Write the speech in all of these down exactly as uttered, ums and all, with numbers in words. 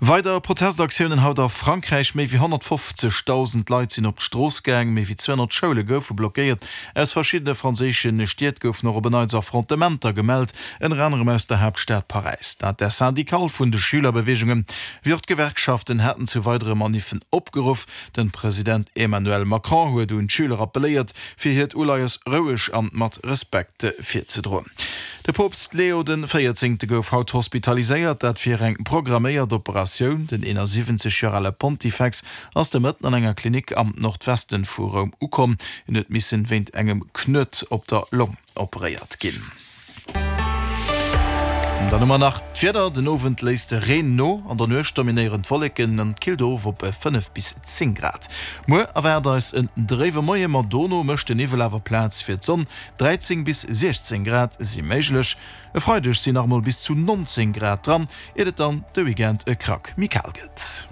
Weider Protestaktiounen haut a Frankräich, Méi wéi honnertfofzegdausend Leit sinn op d'Strooss gaang, méi wéi zweehonnert Schoule goufe blockéiert. Aus verschiddene franséische Stied goufen och op en Neits Affrontementer gemellt, ënner anerem aus der Haaptstad Paräis. D'Intersyndicale vun de Schülerbeweegungen, wéi och d'Gewerkschaften haten zu weidere Maniffen opgeruff. De President Emmanuel Macron huet un d'Schüler appelléiert, fir hiert Uleies roueg an mat Respekt virzedroen. De Poopst Leo den Véierzéngte gouf haut hospitaliséiert, dat fir eng programméiert Operatioun. Den eenasiwwenzeg Joer ale Pontifex ass de Mëtten an enger Klinik am Nordwesten vu Roum ukomm. Hien huet missen wéint engem Knuet op der Long operéiert ginn. Dann hu mer nach d'Wieder, Den Owend léisst de Reen no, an der Nuecht dominéieren d'Wolleken an et killt of op fënnef bis zéng Grad. Muer erwaart eis en dréiwe Moie, ma dono mécht de Niwwel awer Plaz fir d'Sonn, dräizéng bis siechzéng Grad si méiglech. E Freideg sinn nach emol bis zu nonzéng Grad dran, iert et dann de Weekend e Krack méi kal gëtt.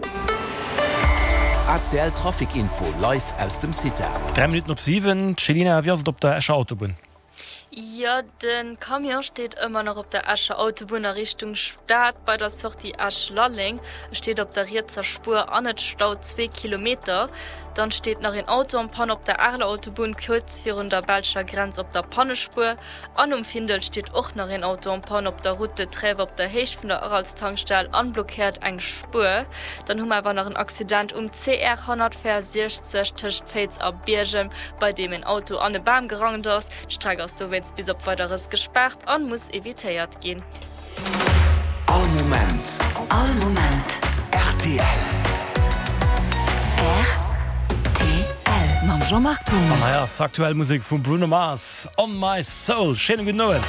A C L Trafic Info live aus dem CITA. Dräi Minutten op siwen, Céline, wéi ass et op der Escher Autobunn? Jo, de Camion steet ëmmer nach op der Escher Autobunn a Richtung Stad bei der Sortie Esch-Lalleng. E steet op der rietser Spuer an et staut zwee Kilometer. Dann steet nach een Auto en panne op der Areler Autobunn kuerz virun der belscher Grenz op der Pannespuer. An um Findel steet och nach een Auto en panne op der Route de Trèves op der Héicht vun der Aralstankstell an blockéiert eng Spuer. Dann hu mer awer nach en Accident um C R honnertvéierundsechzeg tëscht Féiz a Biergem, bei deem een Auto an e Bam gerannt ass. D'Streck ass dowéinst bis op Weideres gespaart an muss evitéiert ginn. All Moment. All Moment. R T L. R T L mam Jean-Marc An Thomas. hei ass aktuell Musek vum Bruno Mars, On My Soul. Schéine gudden Owend.